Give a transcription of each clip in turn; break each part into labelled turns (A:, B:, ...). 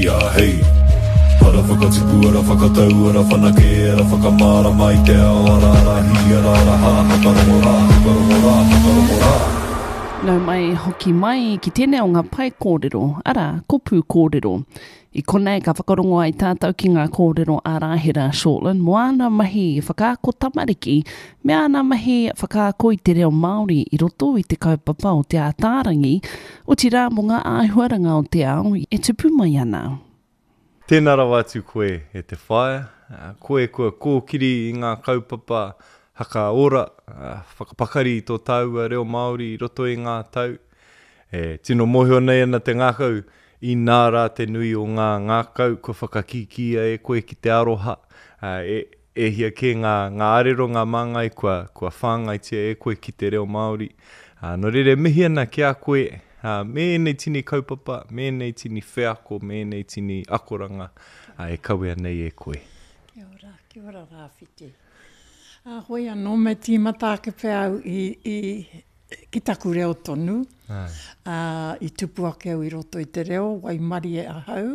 A: a hei. Ara whakatipu, ara whakatau, ara whanake, ara whakamārama i te ao, ara ara hī, ara ara hā, whakarongo rā, whakarongo rā, whakarongo rā.
B: Nau mai, hoki mai ki tēnei o ngā pae kōrero, arā, ko Pūkōrero. I konei ka whakarongo ai tātou ki ngā kōrero a Rāhera Shortland mō āna mahi whakaako tamariki me āna mahi whakaako i te reo Māori i roto i te kaupapa o Te Ātaarangi, otirā mō ngā āhuaranga o te ao e tupu mai ana.
C: Tēnā rawa atu koe e te whaea, koe kua kōkiri i ngā kaupapa hakaora, whakapakari i tō tāua reo Māori i roto i ngā tau. E tino mōhio nei ana te ngākau Inā rā te nui o ngā ngākau kua whakakīkīia e koe ki te aroha, ā, e, e hia kē ngā, ngā arero, ngā māngai kua, kua whāngaitia e koe ki te reo Māori. Ā, nō reira e mihi ana ki a koe, ā, me ēnei tini kaupapa, me ēnei tini wheako, me ēnei tini akoranga, ā, e kawea nei e koe.
D: Kia ora, kia ora Rāwhiti. Ā, hoi anō me tīmata ake pea au i, i, Ki taku reo tonu, ā, i tupu ake au i roto i te reo, waimarie ahau,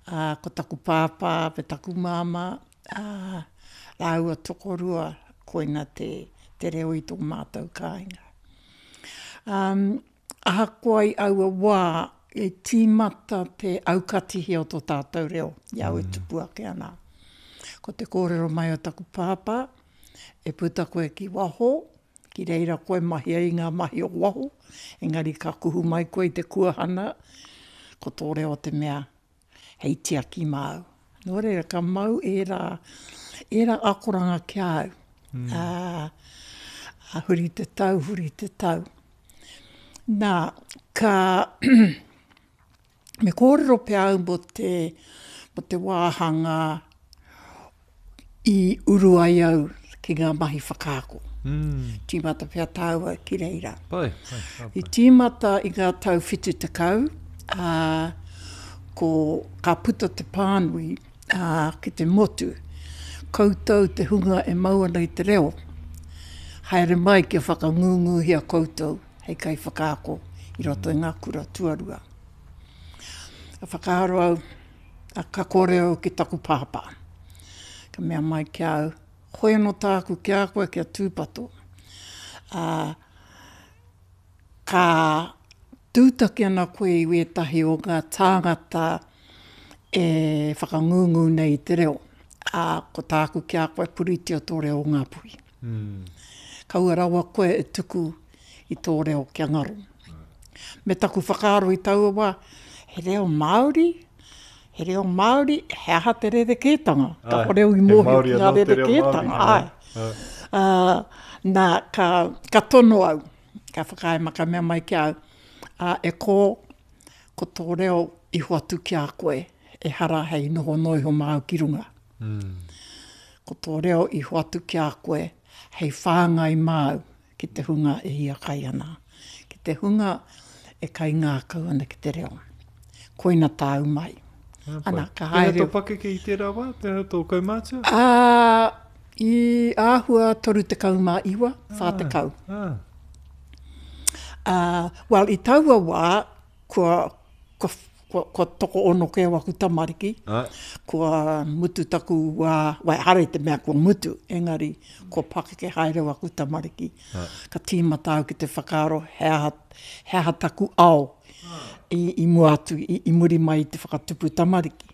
D: ā, ko taku pāpā me taku māmā, ā, rāua tokorua, koina te, te reo i tō mātou kāinga. Ā, ahakoa i aua wā, i tīmata te aukatihia o tō tātou reo i a au e tupu ake ana. Ko te kōrero mai o taku pāpā, e puta koe ki waho, Ki reira koe mahi ai i ngā mahi o waho, engari ka kuhu mai koe i te kuahana, ko tō reo te mea hei tiaki māu. Nō reira, ka mau ērā, ērā akoranga ki a au. Mm. Ā, huri te tau, huri te tau. Nā, ka, Me kōrero pea au mō te, mō te wāhanga i uru ai au ki ngā mahi whakaako. Mm. Tīmata pea tāua ki reira.
C: Pai, pai,
D: pai. I tīmata i ngā tau 70, ā, ko, ka puta te pānui ā, ki te motu, koutou te hunga e mau ana i te reo, haere mai kia whakangunguhia koutou hei kaiwhakaako i roto i ngā kura tuarua. Ka whakaaro au, ka kōrero au ki taku pāpā. Ka mea mai ki a au, hoi anō tāku ki a koe kia tūpato. Ā, ka tūtaki ana koe i wētahi o ngā tāngata e whakangungu nei i te reo. Ā, ko tāku ki a koe, puritia tō reo o Ngāpuhi. Kaua rawa koe e tuku i tō reo kia ngaro. Me taku whakaaro i taua wā, he reo Māori, he reo Māori, he aha te rerekētanga? Kāore au i mōhio ki ngā rerekētanga, āe. Ā, nā, ka, ka tono au, ka whakaae mai, ka mea mai ki a au, ā, e kō, ko tō reo i hoatu ki a koe, ehara hei noho noa iho māu ki runga. Ko tō reo i hoatu ki a koe hei whāngai māu ki te hunga e hiakai ana, ki te hunga e kaingākau ana ki te reo. Koina tāu mai.
C: Ana, ka haere. Pēhea tō pakeke i tērā wā? Pēhea tō kaumātua?
D: Ā, i āhua 39, 40. Ā, well, i taua wā, kua, kua, kua, kua tokoono kē waku tamariki, kua mutu taku wā, well, ehara i te mea kua mutu, engari kua pakeke haere waku tamariki. Ka tīmata au ki te whakaaro he aha, he aha taku ao i, i mua atu, i, i muri mai i te whakatupu tamariki.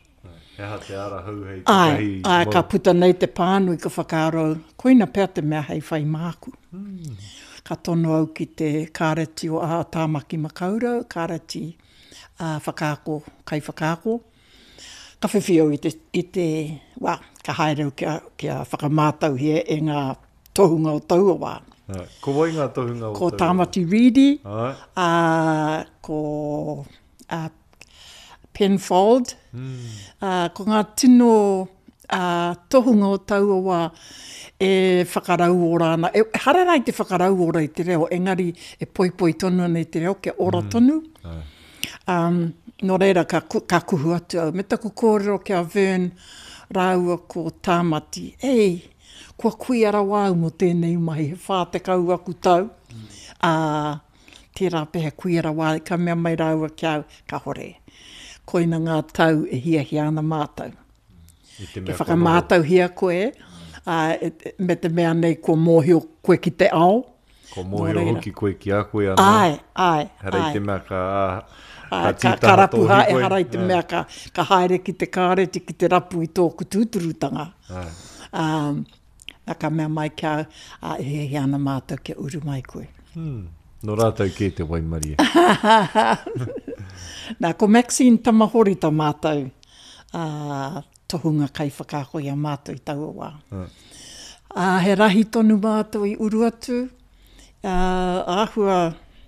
C: He aha te ara hou hei takahi
D: Āe, āe, ka puta nei te pānui ka whakaaro au, koina pea te mea hei whai māku. Ka tono au ki te Kāreti o Tāmaki Makaurau, Kāreti Whakaako, Kaiwhakaako. Ka whiwhi au i te, i te, well, ka haere au kia, kia whakamātauhia e ngā tohunga o taua wā.
C: Ko wai ngā tohunga o
D: taua wā? Ko Tāmati Reedy, ā, ko a Penfold, ā, ko ngā tino tohunga o taua wā e whakarauora ana, ehara rā i te whakarauora i te reo, engari e poipoi tonu ana i te reo kia ora tonu. Nō reira ka, ka kuhu atu au me taku kōrero ki a Vern rāua ko Tāmati, Ei, kua kuia rawa au mō tēnei mahi, he 40 aku tau, ā, Tērā pea he kuia rawa, ka mea mai rāua ki a au, Kahore. Koina ngā tau e hiahia ana mātou. Kia whakamātauhia koe, ā, me te mea nei kua mōhio koe ki te ao.
C: Kua mōhio hoki koe ki a koe anō.
D: Āe, āe, āe.
C: Ehara i te mea ka, ka tītaha tō hīkoi.
D: Ehara i te mea ka, ka haere ki te kāreti ki te rapu i tōku tūturutanga.
C: Āe.
D: Ā, nā ka mea mai ki a au, ā, e hiahia ana mātou kia uru mai koe.
C: Hmm. Nō rātou kē te waimarie.
D: Nā, ko Maxine Tamahori tā mātou ā, tohunga kaiwhakaako i a mātou i taua wā. Ā, he rahi tonu mātou i uru atu, ā, āhua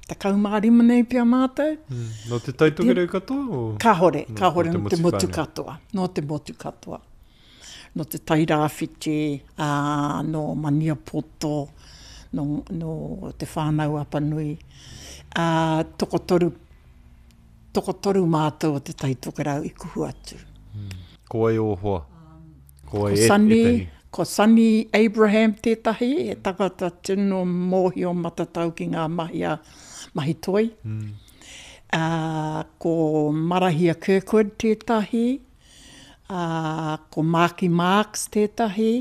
D: 15 nei pea mātou.
C: Mm. Nō Te Tai Tokerau katoa? O?
D: Kāhore, kāhore nō te motu katoa. Nō te motu katoa. Nō Te Tai Rāwhiti, ā, nō Maniapoto, nō, nō Te Whānau-a-Apanui. Ā, tokotoru Tokotoru mātou o Te Tai Tokerau i kuhu atu.
C: Ko wai ō hoa?
D: Ko wai ētahi? Ko Sonny Abraham tētahi, he tangata tino mōhio matatau ki ngā mahi a mahi toi. Ko Marahia Kirkwood tētahi, ko Marky Marks tētahi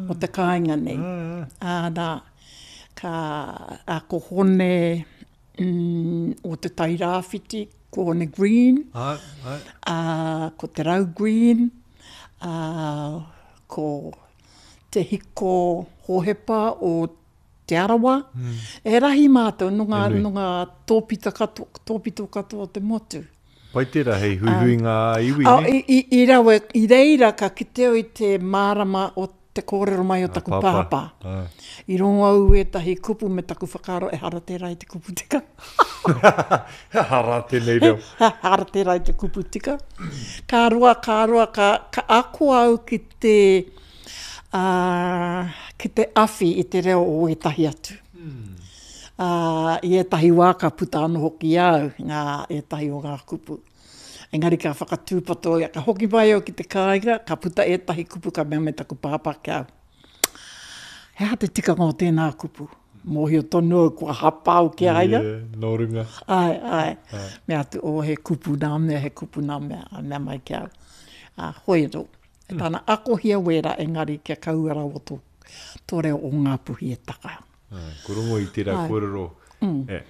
D: o te kāinga nei. Nā, ka, ko Hone o Te Tai Rāwhiti, ko Hone Green,
C: ā,
D: ko Te Rau Green, ā, ko Te Hiko Hohepa o Te Arawa. He rahi mātou nō ngā, nō ngā tōpito katoa, tōpito katoa o te motu.
C: Pai tērā hei huihuinga ā-iwi, nē?
D: I, i, i rawe, i reira ka kite au i te mārama o te kōrero mai o taku pāpā. I rongo au ētahi kupu me taku whakaaro ehara tērā i te kupu tika.
C: He aha rā tēnei reo?
D: He aha rā tērā i te kupu tika? Ka roa, ka roa, ka, ka ako au ki te, ā, ki te awhi i te reo o ētahi atu. Ā, i ētahi wā ka puta anō hoki i a au ngā, ētahi o ngā kupu. Engari ka whakatūpato ia, ka hoki mai au ki te kāinga, ka puta ētahi kupu ka mea mai taku pāpā ki a au, He aha te tikanga o tēnā kupu? Mōhio tonu au kua hapa au ki a ia.
C: Yeah, nō runga.
D: Āe, āe. Mea atu, oh, he kupu nā mea, he kupu nā mea, ā, mea mai ki a au. Ā, hoi anō, e tāna akohia wērā engari kia kaua rawa tō, tō reo o Ngāpuhi e taka.
C: Ko rongo i tērā kōrero,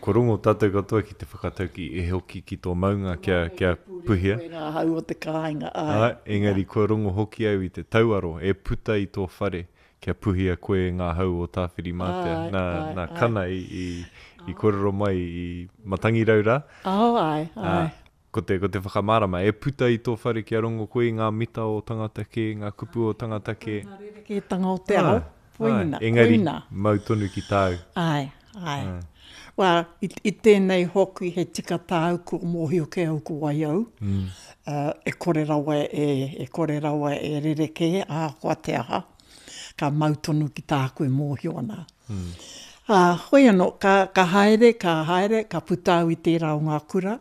C: ko rongo tātou katoa ki te whakatauki e hoki ki tō maunga kia, kia puhia.
D: Koe ngā hau o te kāinga, āe.
C: Āe, engari kua rongo hoki au i te tauaro e puta i tō whare kia puhia koe e ngā hau o Tāwhirimātea. Nā, nā Kana i, i, i kōrero mai i Matangirau rā.
D: Oh, āe, āe.
C: Ko te, ko te whakamārama, e puta i tō whare kia rongo koe i ngā mita o tangata kē, ngā kupu o tangata kē.
D: Ngā rerekētanga o te ao, koina,
C: engari, koina. Mau tonu ki tāu.
D: Āe, āe. Wā, i, i tēnei hoki he tika tāu kua mōhio kē au ko wai au, mm. uh, e kore rawa e, e kore rawa e rerekē, ahakoa te aha, ka mau tonu ki tāku e mōhio ana. Mm. Ā, hoi anō, ka, ka haere, ka haere, ka puta au i tērā o ngā kura,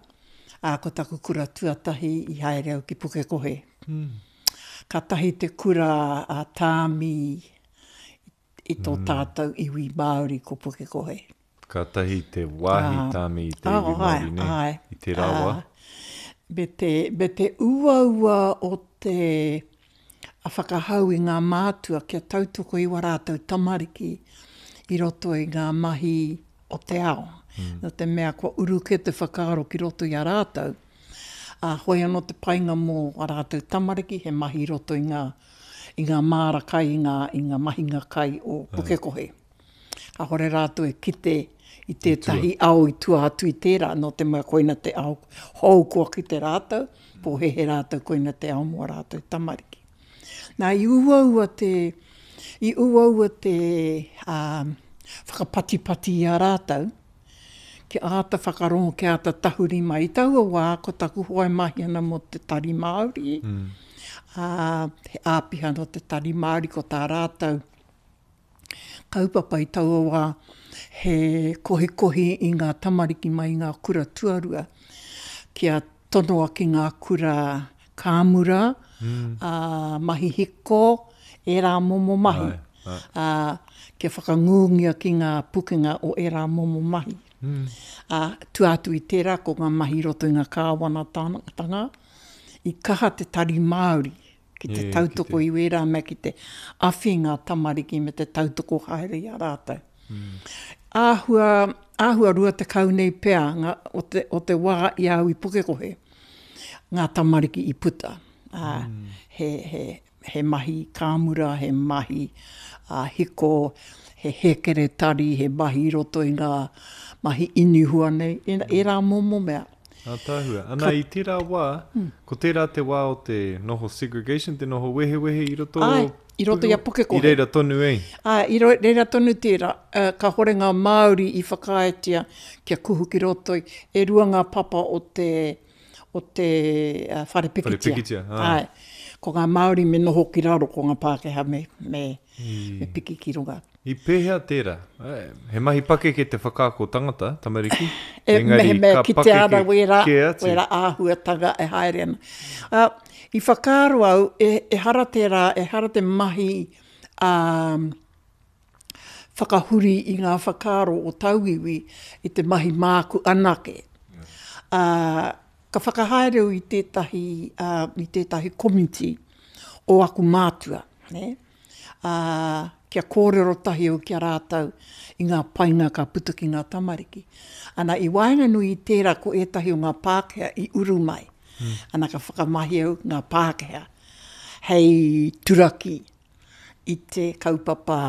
D: Ā, ko taku kura tuatahi i haere au ki Pukekohe. Kātahi te kura a Tāmi i tō tātou iwi Māori ko Pukekohe.
C: Kātahi te wāhi tāmi i te iwi Māori, nē? I tērā wā.
D: Me te, me te uaua o te whakahau i ngā mātua kia tautoko i wā rātou tamariki i roto i ngā mahi o te ao. Nō te mea kua uru kē te whakaaro ki roto i a rātou, ā, hoi anō te painga mō ā rātou tamariki he mahi i roto i ngā, i ngā māra kai, i ngā, i ngā mahinga kai o Pukekohe. Kāore rātou e kite i tētahi ao i tua atu i tērā, nō te mea koina te ao hou kua kite rātou, pōhēhē rātou koina te ao mō ā rātou tamariki. Nā, i uaua te, i uaua te ā, whakapatipati i a rātou, kia āta whakarongo, kia āta tahuri mai. I taua wā, ko taku hoa e mahi ana mō te Tari Māori, ā, he āpiha nō te Tari Māori, ko tā rātou kaupapa i taua wā, he kohikohi i ngā tamariki mai i ngā kura tuarua, kia tonoa ki ngā kura kāmura, ā, mahi hiko, ērā momo mahi, ā, kia whakangūngia ki ngā pukenga o ērā momo mahi. Ā, tua atu i tērā, ko ngā mahi i roto i ngā kāwanatanga. I kaha te Tari Māori ki te tautoko i wērā mea ki te awhi i ngā tamariki me te tautoko haere i a rātou. Āhua, āhua 20 nei pea ngā, o te, o te wā i a au i Pukekohe, ngā tamariki i puta. Ā, he, he, he mahi kāmura, he mahi hiko, he hēkeretari, he mahi i roto i ngā mahi inihua nei, ērā momo mea.
C: Ātaahua. Ana, i tērā wā, ko tērā te wā o te noho segregation, te noho wehewehe i roto o
D: Āe, i roto i a Pukekohe.
C: I reira tonu
D: e? Āe, i reira tonu tērā. Kāhore ngā Māori i whakaaetia kia kuhu ki roto i, e rua ngā papa o te, o te whare pikitia.
C: Whare pikitia,
D: āe. Āe. Ko ngā Māori me noho ki raro, ko ngā Pākehā me, me, me piki ki runga.
C: I pēhea tērā? He mahi pakeke te whakaako tangata, tamariki,
D: E, engari mehemea ka kitea ana pakeke wērā, kē atu. wērā āhuatanga e haere ana. Ā, i whakaaro au, e, ehara tērā, ehara te mahi, ā, whakahuri i ngā whakaaro o tauiwi i te mahi māku anake. Ā, ka whakahaere au i tētahi, ā, i tētahi komiti o aku mātua, nē. ā, kia kōrero tahi au ki a rātou i ngā painga ka puta ki ngā tamariki. Ana, i waenganui i tērā ko ētahi o ngā Pākehā i uru mai. Ana, ka whakamahi au ngā Pākehā hei turaki i te kaupapa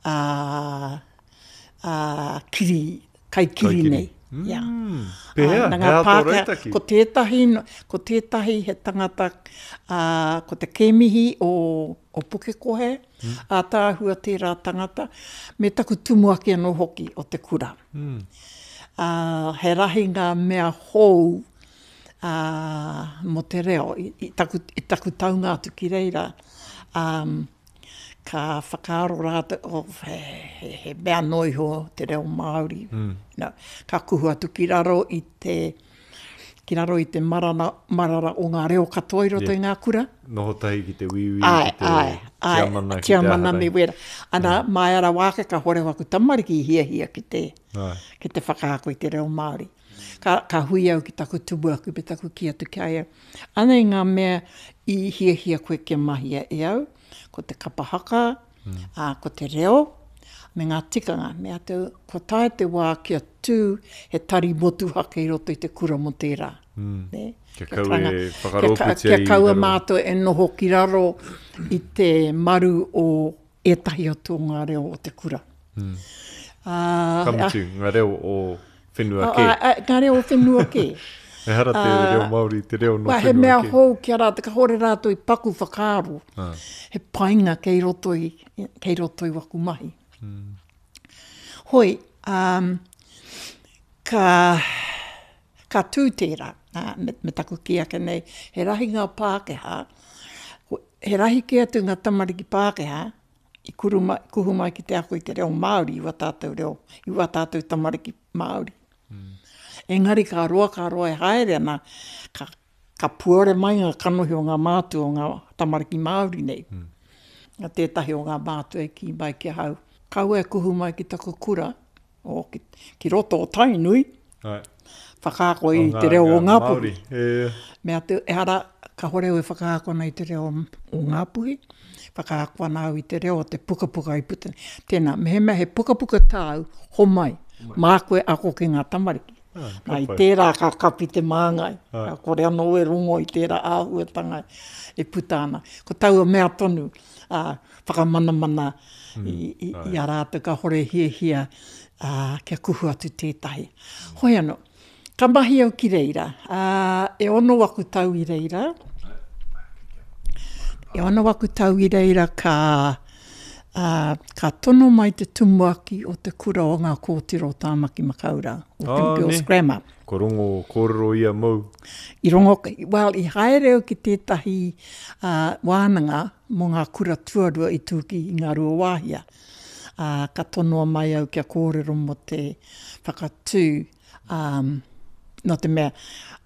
D: ā, ā, kiri, kaikiri nei.
C: Mm. Yeah. Pēhea? He aha tō rautaki?
D: Ko tētahi, ko tētahi he tangata, ā, ko te kēmihi o, o Pukekohe, mm. ātaahua tērā tangata, me taku tumuaki anō hoki o te kura. Mm. Ā, he rahi ngā mea hou ā, mō te reo, i, i, taku, i taku taunga atu ki reira. Um, ka whakaaro rātou, oh, he, he, he mea noa iho te reo Māori. Mm. No, ka kuhu atu ki raro i te, ki raro i te marana, marara o ngā reo katoa i roto yeah. i ngā kura.
C: Noho tahi ki te wīwī, ki te
D: ai, ai, tiamana, ki te aha me wera. Ana, mm. mai ara wāke ka hore waku tamariki i hiahia ki te, ai. ki te whakaako i te reo Māori. Ka, ka hui au ki taku tumuaki me taku kī atu ki a ia, Anei ngā mea i hiahia koe kia mahia e au, ko te kapa haka, mm. ā, ko te reo, me ngā tikanga. Me atu, kua tae te wā kia tū he tari motuhake i roto i te kura mō tērā.
C: Mm. Ne? Kia kaua e whakarōpūtia
D: kia, kia kaua mātou e noho ki raro i te maru o ētahi atu o ngā reo o te kura.
C: Mm. Ā, Ka mutu, ngā reo o whenua kē.
D: Ā, ā, ngā reo o whenua kē.
C: Ehara te reo Māori, te reo nō whenua kē.
D: He mea hou ki a rātou, kāore rātou i paku whakaaro. He painga kei roto i, kei roto i waku mahi. Mm. Hoi, um, ka, ka tū tērā, ā, me, me taku kī ake nei, he rahi ngā Pākehā, he rahi kē atu ngā tamariki Pākehā i kuru mai, kuhu mai ki te ako i te reo Māori i wā tātou reo, i wā tātou tamariki Māori. Mm. Engari ka roa, ka roa e haere ana, ka, ka puare mai ngā kanohi o ngā mātua o ngā tamariki Māori nei. Mm. Tētahi o ngā mātua i kī mai ki ahau, kaua e kuhu mai ki taku kura, o, ki, ki roto o Tainui,
C: Ai.
D: whakaako i te reo o Ngāpuhi. Me atu, ehara, kahore au e whakaako ana i te reo o Ngāpuhi, whakaako ana au i te reo o te pukapuka i puta nei. Tēnā, mehemea he pukapuka tāu, homai, māku e ako ki ngā tamariki. Ah, Nā, i tērā ka kapi te māngai, ka kore anō e rongo i tērā āhuatanga e puta ana. Ko taua mea tonu, ā, whakamanamana i, i, i a rātou kāore hiahia ā, kia kuhu atu tētahi. Hoi anō, ka mahi au ki reira, ā, e ono aku tau i reira, e ono aku tau i reira ka, ā, ka tono mai te tumuaki o te kura o ngā kōtiro o Tāmaki Makaurau, o oh, Girls Grammar.
C: Ko rongo kōrero ia mou.
D: I rongo, well, i haere au ki tētahi uh, wānanga mō ngā kura tuarua i tū ki Ngāruawāhia, ā, ka tonoa mai au kia kōrero mō te whakatū, ā, nō te mea,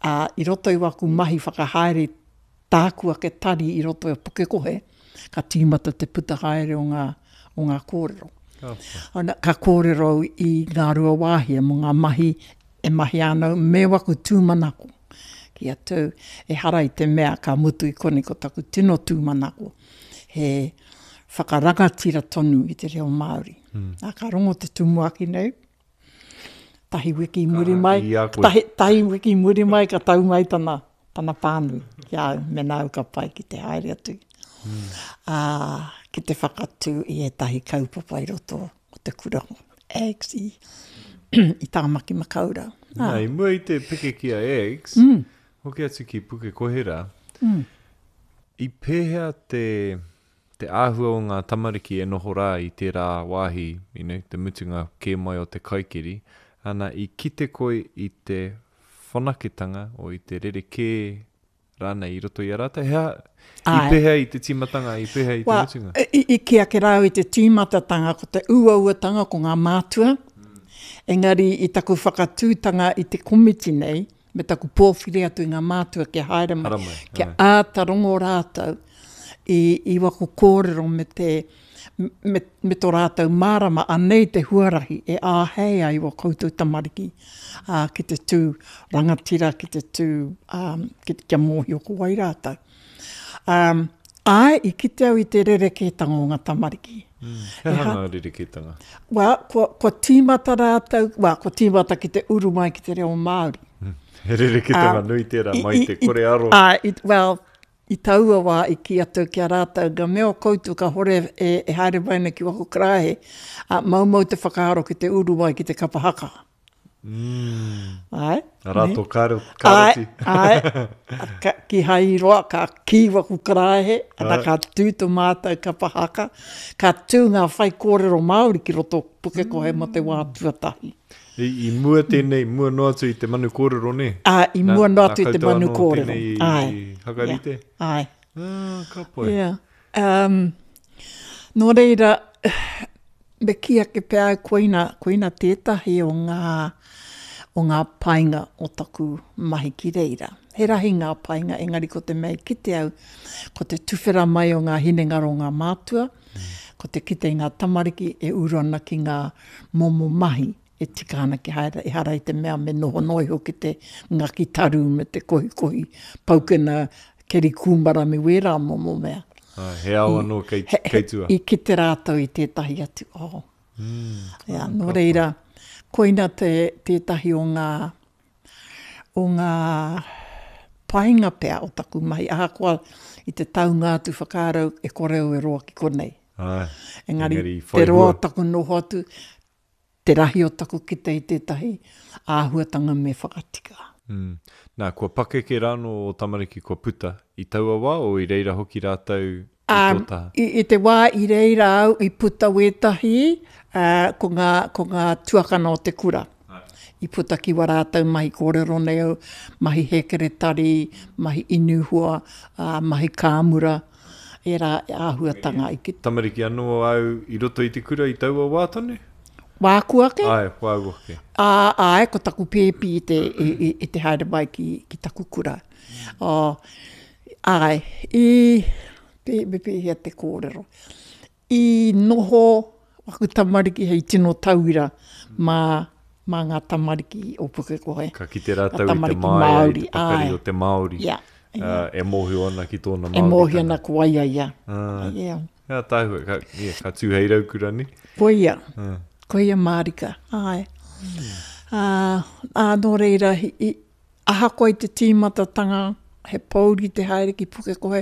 D: ā, i roto i waku mahi whakahaere tāku ake tari i roto i a Pukekohe, ka tīmata te puta haere o ngā, o ngā kōrero. Ka pai. Ana, ka kōrero au i Ngāruawāhia mō ngā mahi e mahia ana au me waku tūmanako. Kī atu au, ehara i te mea ka mutu i konei ko taku tino tūmanako, he whakarangatira tonu i te reo Māori. Ā, ka rongo te tumuaki nei, tahi wiki i muri mai, tahi, tahi wiki i muri mai ka tau mai tana, tana pānui ki a au, mēnā au ka pai ki te haere atu, mm. ā, ki te whakatū i ētahi kaupapa i roto o te kura AGS i, i Tāmaki Makaurau.
C: Nā, i mua i te peke ki a AGS, mm. hoki atu ki Pukekohe rā, mm. i pēhea te, te āhua o ngā tamariki e noho rā i tērā wāhi, you know, te mutunga kē mai o te kaikiri, ana, i kite koe i te whanaketanga o i te rerekē rānei i roto i a rātou? He aha, i pēhea i te tīmatanga, i pēhea i te mutunga?
D: I, i kī ake rā au i te tīmatatanga, ko te uauatanga ko ngā mātua, engari i taku whakatūtanga i te komiti nei, me taku pōwhiri atu i ngā mātua kia haere mai, mai kia āta rongo rātou i, i waku kōrero me te, me, me tō rātou mārama, anei te huarahi e āhei ai wā koutou tamariki ā, ki te tū rangatira, ki te tū, ā, ki, kia mōhio ko wai rātou. Um, āe, i kite au i te rerekētanga o ngā tamariki.
C: Mm, he aha ngā rerekētanga?
D: Well, kua, kua tīmata rātou, well, kua tīmata ki te uru mai ki te reo Māori.
C: Mm, he rerekētanga um, nui tērā mai te kore aro.
D: Ā, i, well, I taua wā i kī atu ki a rātou, Nga mea o koutou ka hore e, e haere mai ana ki waku karaehe, ā, maumau te whakaaro ki te uru mai ki te kapa haka.
C: Mm. Āe. Arā tō karo, karoti.
D: Āe, āe. Ka, kihai i roa, ka kī waku karaehe, ana ka tū tō mātou kapa haka, ka tū ngā whaikōrero Māori ki roto o Pukekohe mō te wā tuatahi.
C: I, i mua tēnei, mua noa atu i te manu kōrero, nē?
D: Ā, i mua noa atu i te manu kōrero.
C: Nā koutou anō tēnei i, Āe. i hakarite?
D: Yeah. Āe.
C: Ah, ka pai.
D: Yeah. Um, nō reira, me kī ake pea au koina, koina tētahi o ngā, o ngā painga o taku mahi ki reira. He rahi ngā painga, engari ko te mea i kite au, ko te tuwhera mai o ngā hinengaro o ngā mātua, ko te kite i ngā tamariki e uru ana ki ngā momo mahi e tika ana kia haere, ehara i te mea me noho noa iho ki te ngaki taru me te kohikohi paukena keri kūmara me wērā momo mea.
C: Ā, he ao anō kei, kei tua.
D: I kite rātou i tētahi atu ao. Mm, yeah, nō reira, koina te, tētahi o ngā, o ngā painga pea o taku mahi, ahakoa i te taunga atu whakaaro e kore au e roa ki konei.
C: Āe,
D: engari, engari te roa o taku noho atu, te rahi o taku kite i tētahi āhuatanga me whakatika.
C: Mm. Nā, kua pakeke rānō ō tamariki kua puta i taua wā, o i reira hoki rātou i tō taha?
D: I, i te wā i reira au i puta wētahi, ā, ko ngā, ko ngā tuakana o te kura. I puta ki wā rātou mahi kōrero nei au, mahi hēkeretari, mahi inu hua, ā, mahi kāmura, ērā āhuatanga i
C: kite. Tamariki anō au i roto i te kura i taua wā tonu?
D: Wāku ake?
C: Āe, wāu ake.
D: Ā, āe, ko taku pēpi i te, i, i, i te haere mai ki, ki taku kura. Oh, āe, i, pē, me pēhea te kōrero. I noho waku tamariki hei tino tauira mā, mā ngā tamariki o Pukekohe.
C: Ka kite rātou i te māia, i te pakari o te Māori, yeah, yeah. e mōhio ana ki tōna
D: Māoritanga. E mōhio ana ko wai a ia.
C: Uh, yeah. He ātaahua, ka, yeah, ka tū hei raukura, ne?
D: Koia, uh. koia mārika, āe. Mm. Uh, ā, nō reira, i, Ahakoa i te tīmatatanga, he pōuri te haere ki Pukekohe,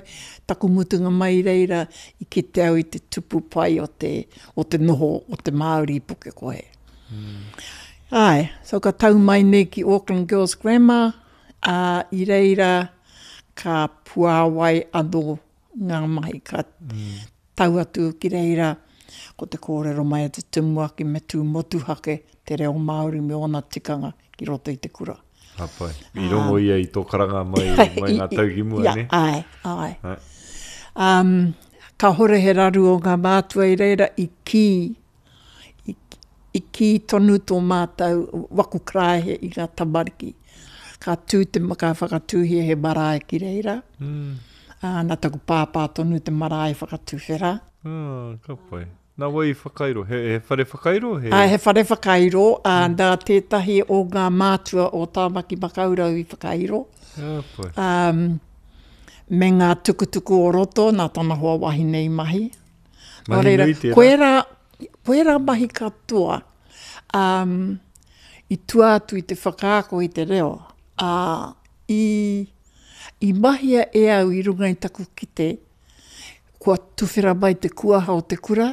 D: taku mutunga mai i reira i kite au i te tupu pai o te, o te noho o te Māori i Pukekohe. Mm. Āe, so ka tau mai nei ki Auckland Girls Grammar, ā, i reira ka puāwai anō ngā mahi ka mm. tau atu ki reira, ko te kōrero mai a te tumuaki me tū motuhake te reo Māori me ōna tikanga ki roto i te kura.
C: Ka pai. I rongo ia i tō karanga mai, mai ngā tau ki mua, ne?
D: Āe, āe. Um, kāhore he raru o ngā mātua i reira i kī, i, i kī tonu tō mātou waku karaehe i ngā tamariki. Ka tū te, ka whakatūhia he marae ki reira. Mm. Ā, nā taku pāpā tonu te marae whakatuwhera.
C: Ah, ka pai. Nā wai i whakairo? He, he whare whakairo?
D: He... Ā, he whare whakairo, ā, mm. nā tētahi o ngā mātua o Tāmaki Makaurau i whakairo.
C: Oh,
D: boy. Um, me ngā tukutuku o roto nā tana hoa wahine i mahi.
C: Mahi Nō reira, nui tērā.
D: Koērā, koērā mahi katoa um, i tua atu i te whakaako i te reo, ā, i, i mahia e au i runga i taku kite, kua tuwhera mai te kuaha o te kura,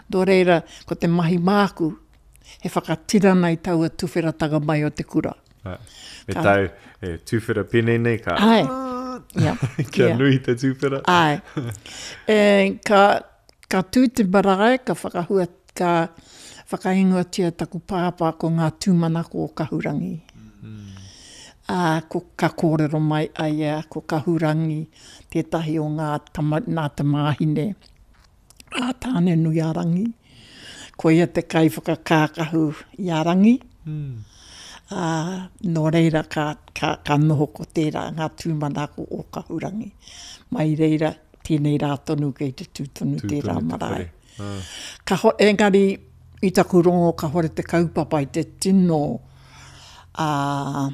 D: nō reira, ko te mahi māku, he whakatinana i taua tuwheratanga mai o te kura.
C: Ā, me ka, tāu, e tuwhera pēnei nei ka...
D: Āe, ia.
C: Kia ia. nui te tuwhera.
D: Āe. E, ka, ka tū te marae, ka whakahua, ka whakaingoatia taku pāpā ko ngā tūmanako o Kahurangi. Mm. Ā, ko, ka kōrero mai a ia ko Kahurangi tētahi o ngā tama, nā tamāhine a Tāne-nui-a-Rangi. Ko ia te kaiwhakakākahu i a Rangi. Mm. Ā, nō reira ka, ka, ka noho ko tērā ngā tūmanako o Kahurangi. Mai reira, tēnei rā tonu kei te tū tonu tū tērā tonu marae. Te ka ho, engari, i taku rongo kahore te kaupapa i te tino, ā,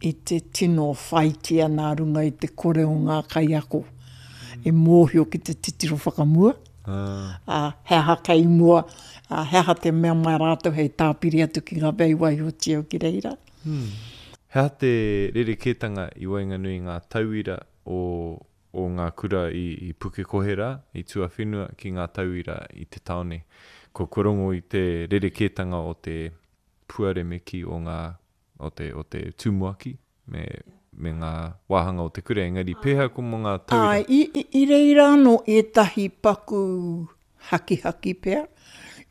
D: i te tino whaitia nā runga i te kore o ngā kaiako e mōhio ki te titiro whakamua, ā, he aha kei mua, ā, he aha te mea mai rātou hei tāpiri atu ki ngā mea i waihotia ki reira.
C: He aha te rerekētanga i waenganui i ngā tauira o o ngā kura i, i Pukekohe rā, i tuawhenua ki ngā tauira i te tāone? Ko, kua rongo i te rerekētanga o te puaremeki o ngā o te, o te tumuaki me, me ngā wāhanga o te kura, engari pēhea ko mō ngā tauira?
D: Āe, i, i, i reira anō ētahi paku hakihaki pea.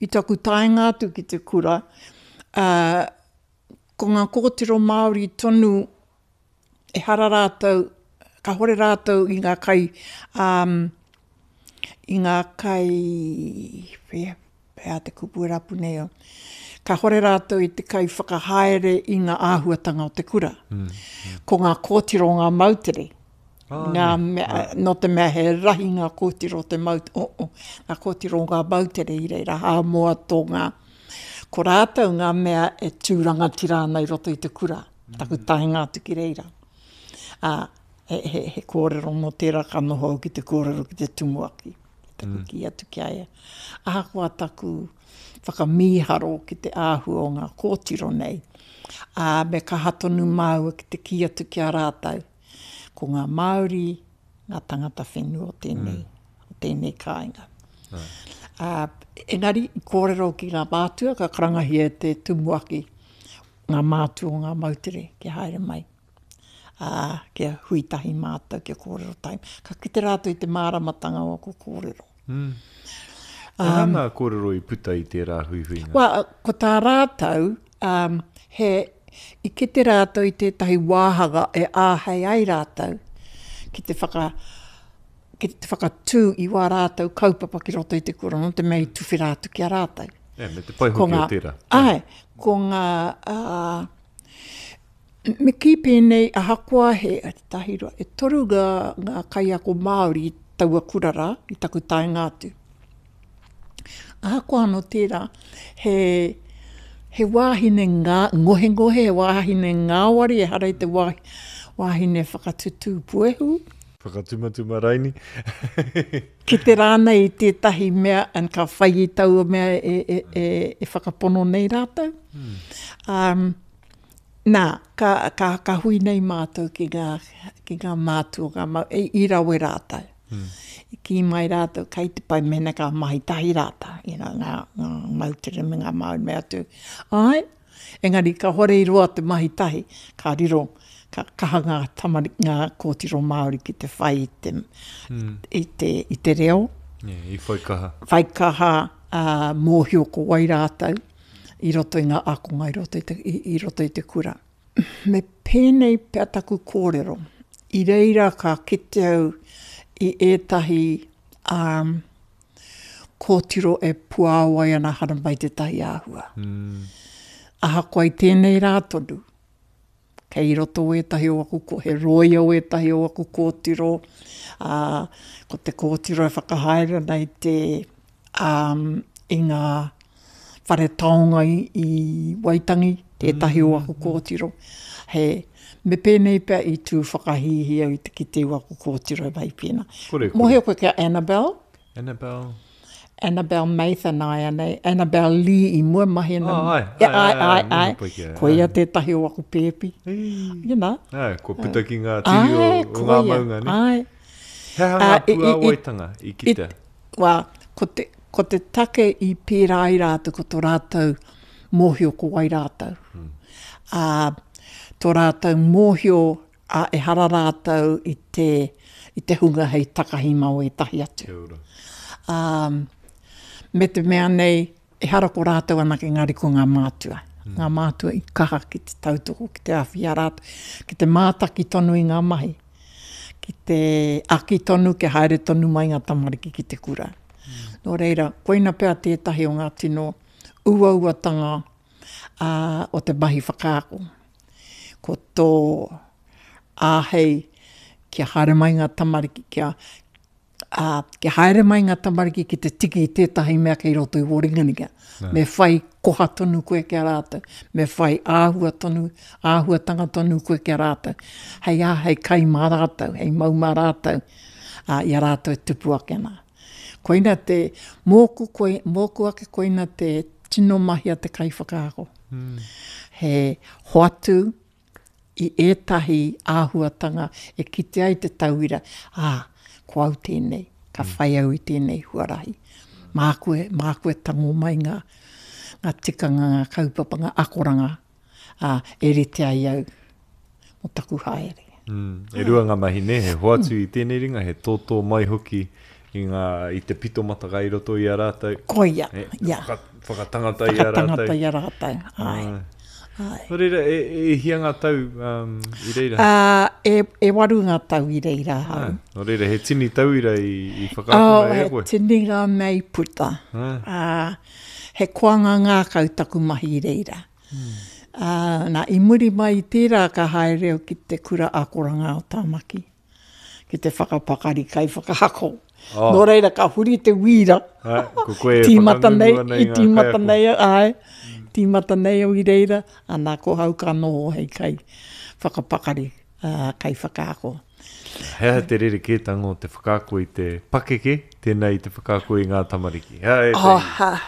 D: I taku taenga atu ki te kura, ā, ko ngā kōtiro Māori tonu, ehara rātou, kāhore rātou i ngā kai, ā, i ngā kai, whea, He aha te kupu e rapu nei au? Kahore rātou i te kaiwhakahaere i ngā āhuatanga o te kura. Mm. Ko ngā kōtiro o ngā moutere. Ah, ngā mea, ah. Nō te mea he rahi ngā kōtiro o te maut, oh, oh, ngā kōtiro o ngā moutere i reira, Hāmoa, Tonga. Ko rātou ngā mea e tū rangatira ana i roto i te kura, taku mm. taenga atu ki reira. Ā, he, he, he kōrero mō tērā ka noho au ki te kōrero ki te tumuaki. Taku mm. kī atu ki a ia. Ahakoa taku whakamīharo ki te āhua o ngā kōtiro nei, ā, me kaha tonu māua ki te kī atu ki a rātou, ko ngā Māori ngā tangata whenua o tēnei, mm. o tēnei kāinga. Ā, engari, i kōrero ki ngā mātua, ka karangahia e te tumuaki ngā mātua o ngā moutere kia haere mai. ā, kia hui tahi mātou, kia kōrero tahi. Ka kite rātou i te māramatanga o aku kōrero.
C: Mm. He aha ngā kōrero i puta i tērā huihuinga?
D: Well, ko tā rātou, um, he, i kite rātou i tētahi wāhanga e āhei ai rātou ki te whaka, ki te whakatū i wā rātou kaupapa ki roto i te kura, nō te mea i tuwhera atu ki a rātou.
C: Yeah, me te pai hoki o tērā.
D: Āe, ko ngā, uh, Me kī pēnei, ahakoa he tahi roa, e toru ngā, ngā kaiako Māori i taua kura rā, i taku taenga atu. Ahakoa anō tērā, he, he wāhine ngā, ngohengohe, he wāhine ngāwari, ehara i te wā, wāhine whakatutū puehu.
C: Whakatumatuma raini.
D: Kite rānei i tētahi mea and ka whai i taua mea e, e, e, e whakapono nei rātou. Mm. Um, Nā, ka, ka, ka hui nei mātou ki ngā, ki ngā mātua, ngā mau, i, i rawe rātou. Mm. I kī mai rātou, kei te pai mēnā ka mahi tahi rātou, you know, ngā, ngā moutere me ngā Māori me atu. Āe, engari kāore i roa te mahi tahi, ka riro, ka kaha ngā tamari, ngā kōtiro Māori ki te whai i te, mm. i te, i te reo.
C: Yeah, i whai kaha.
D: Whai kaha, ā, mōhio ko wai rātou. i roto i ngā ākonga i roto i te, i, i roto i te kura. Me pēnei pea taku kōrero, i reira ka kite au i ētahi um, kōtiro e puāwai ana haramai tētahi āhua. Mm. Ahakoa i tēnei rā tonu, Kei roto wētahi o aku, ko he rōia wētahi o aku kōtiro, ā, ko te kōtiro e whakahaere ana i te, ā, i ngā whare taonga i, i Waitangi, tētahi o aku kōtiro. He, me pēnei pea i tū whakahīhī au i te kite i waku kōtiro e mahi pēnā.
C: Kore, kore.
D: Mōhio koe ki a Annabelle?
C: Annabelle.
D: Annabelle Mather nāianei, Annabelle Lee i mua mahi ana.
C: Oh, ai, ai, ai, ai,
D: ai, ai. Koia tētahi o aku pēpi. You know.
C: Ai, kua puta ki ngā tiri o, o ngā maunga, ne?
D: Ai.
C: He aha ngā puāwaitanga i kitea?
D: Wā, ko te, ko te take i pērā ai rātou, ko tō rātou mōhio ko wai rātou. Mm. Ā, tō rātou mōhio Ā, ehara rātou i te, i te hunga hei takahi mā wētahi atu.
C: Kia ora.
D: Ā, me te mea nei, ehara ko rātou anake engari ko ngā mātua. Mm. Ngā mātua i kaha ki te tautoko, ki te āwhi i a rātou, ki te mātaki tonu i ngā mahi, ki te aki tonu kia haere tonu mai ngā tamariki ki te kura. Mm. Nō reira, koina pea tētahi o ngā tino uauatanga ā, o te mahi whakaako. Ko tō āhei kia haere mai ngā tamariki, kia, ā, kia haere mai ngā tamariki ki te tiki i tētahi mea kei roto i wō ringaringa. Me whai koha tonu koe ki a rātou, me whai āhua tonu, āhuatanga tonu koe ki a rātou. Hei ā, hei kai mā rātou, hei mau mā rātou, ā, i a rātou e tupu ake ana. Koina te, mōku, koi, mōku ake koina te tino mahi a te kaiwhakaako. Mm. He hoatu i ētahi āhuatanga e kite ai te tauira, ā, ko au tēnei, ka mm. whai au i tēnei huarahi. Māku e, māku e tango mai ngā, ngā tikanga, ngā kaupapa, ngā akoranga, ā, e rite ai au mō taku haere.
C: Mm, e rua ngā mahi nē, he hoatu i tēnei ringa, he tōtō mai hoki i, ngā, i te pito mataka i roto i a rātou.
D: Koia, e,
C: ia. Whaka, whakatangata i a rātou.
D: Whakatangata i a rātou, ai.
C: Ai. Ai. Nō reira, e, e hia ngā tau um, i reira?
D: Uh, e, e waru ngā tau i reira ahau.
C: Ah, nō reira, he tini tauira i, i whakaakona oh, e koe?
D: He tini ngā mea i puta.
C: Ah.
D: Uh, he koanga ngākau taku mahi i reira. Ā, nā, i muri mai i tērā ka haere au ki te Kura Akoranga o Tāmaki, ki te whakapakari kaiwhakaako.
C: Oh.
D: Nō reira, ka huri te wīra.
C: Ā, ko koe e
D: Tīmata nei,
C: whakangungu ana i
D: i
C: ngā
D: tīmata
C: kaiako.
D: nei au, āe, tīmata nei au i reira, ana, ko hau ka noho hei kai whakapakari ā, kaiwhakaako.
C: He aha te rerekētanga o te whakaako i te pakeke, tēnā i te whakaako i ngā tamariki? He aha ētahi?
D: Oh,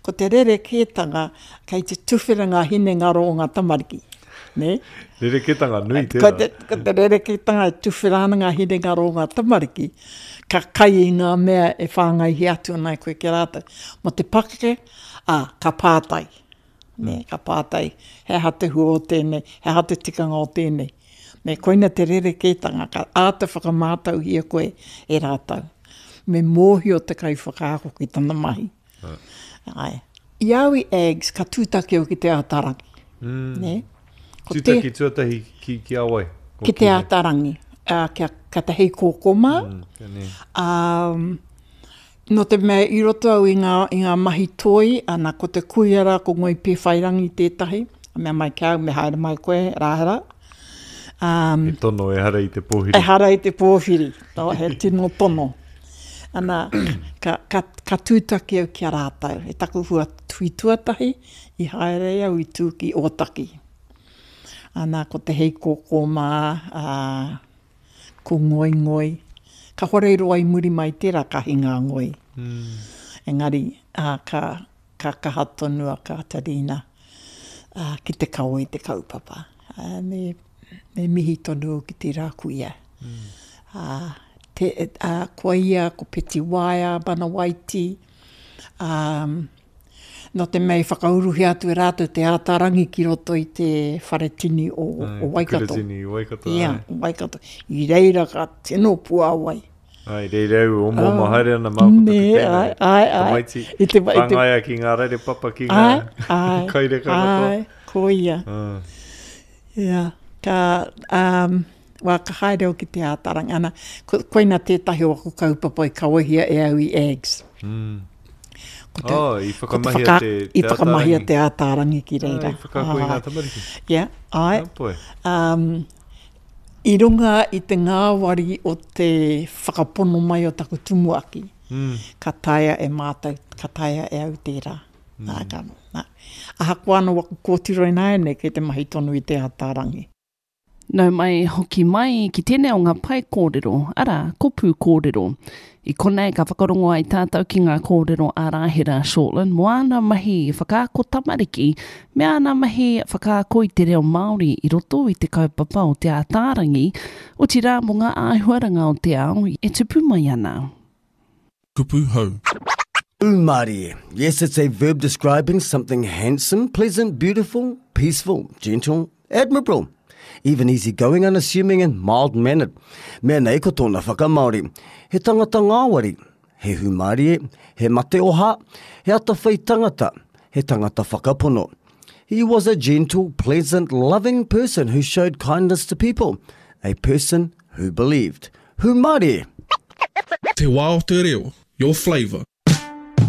D: ko te rerekētanga, kei te tuwhera ngā hinengaro o ngā tamariki. Nē?
C: Rerekētanga nui tērā.
D: Ko te, ko te rerekētanga e tuwhera ana ngā hinengaro o ngā tamariki, ka kai i ngā mea e whāngaihia atu ana e koe ki a rātou. Mō te pakeke, ā, ka pātai. Nē, ka pātai, he aha te hua o tēnei, he aha te tikanga o tēnei. Nē, koina te rerekētanga, ka āta whakamātauhia koe e rātou. Me mōhio te kaiwhakaako ki tana mahi. Āe. I au i Aggs, ka tūtaki au ki Te Ātaarangi.
C: Mm.
D: Nē?
C: Ko tūtaki te, tuatahi ki, ki a wai?
D: Ki, ki Te Ātaarangi. Uh, kia, kia te Heikōkō mā.
C: Mm,
D: um, Nō te mea i roto au i ngā, i ngā mahi toi, ana, ko te kuia rā, ko Ngoi Pēwhairangi tētahi, a mea mai ki a au, me haere mai koe, Rāhera.
C: Um, he tono, ehara i te pōhiri.
D: Ehara i te pōhiri, no, he tino tono. Ana, ka, ka, ka tūtaki au ki a rātou. E taku hua tui tuatahi, i haere au i tū ki Ōtaki. Ana, ko te heikōkō mā, ā, Ko Ngoingoi. Ka hore roa i muri mai tērā ka hinga a Ngoi. Engari, ā, ka, ka kaha tonu a Kātarina, ā, ki te kawe i te kaupapa. Ā, me, me mihi tonu au ki tērā kuia. Ā, te, ā, ko ia, ko Peti Waea, Manawaiti, ā, Nō te mea i whakauruhia atu e rātou te ātarangi ki roto i te whare tini o, o Waikato.
C: Te tini i Waikato,
D: Ia, o Waikato. I reira ka tino puāwai.
C: Ai, reira au, omo omo oh, haere ana māku taku tēnei.
D: Ai, ai, ai.
C: Tamaiti, I te, i te, whāngaia ki ngā rere papa ki ngā
D: ai,
C: kaireka katoa.
D: Ai, ko ia.
C: Ah.
D: Ia, ka, um, wā, ka haere au ki te ātarangi. Ana, ko, koina tētahi o aku kaupapa i kawehia e au i Aggs.
C: Mm.
D: Ko te,
C: oh, i whakamahia
D: ko te, whaka,
C: te, te
D: I whakamahia te ātārangi ki reira.
C: Ah, i whakaako i ngā tamariki.
D: Yeah, ai.
C: Oh,
D: um, I runga i te ngāwari o te whakapono mai o taku tumuaki,
C: mm.
D: ka taea e mātou, ka taea e au tērā. Nā, ka, nā. Ahakoa anō waku kōtiro ināianei kei te mahi tonu i Te Ataarangi.
B: Nau mai, hoki mai ki tēnei o ngā pae kōrero, arā, ko Pūkōrero. I konei ka whakarongo ai tātou ki ngā kōrero a Rāhera Shortland mō āna mahi whakaako tamariki me āna mahi whakaako i te reo Māori i roto i te kaupapa o Te Ātaarangi, otirā mō ngā āhuaranga o te ao e tupu mai ana.
A: Kupu hou.
E: Umārie. Yes, it's a verb describing something handsome, pleasant, beautiful, peaceful, gentle, admirable. Even easygoing, unassuming and mild-mannered. Mea nei ko tōna whakamāori. He tangata ngāwari, he hūmārie, he mateoha, he atawhai tangata, he tangata whakapono. He was a gentle, pleasant, loving person who showed kindness to people, a person who believed. Hūmārie!
A: Te wā o te reo, your flavour.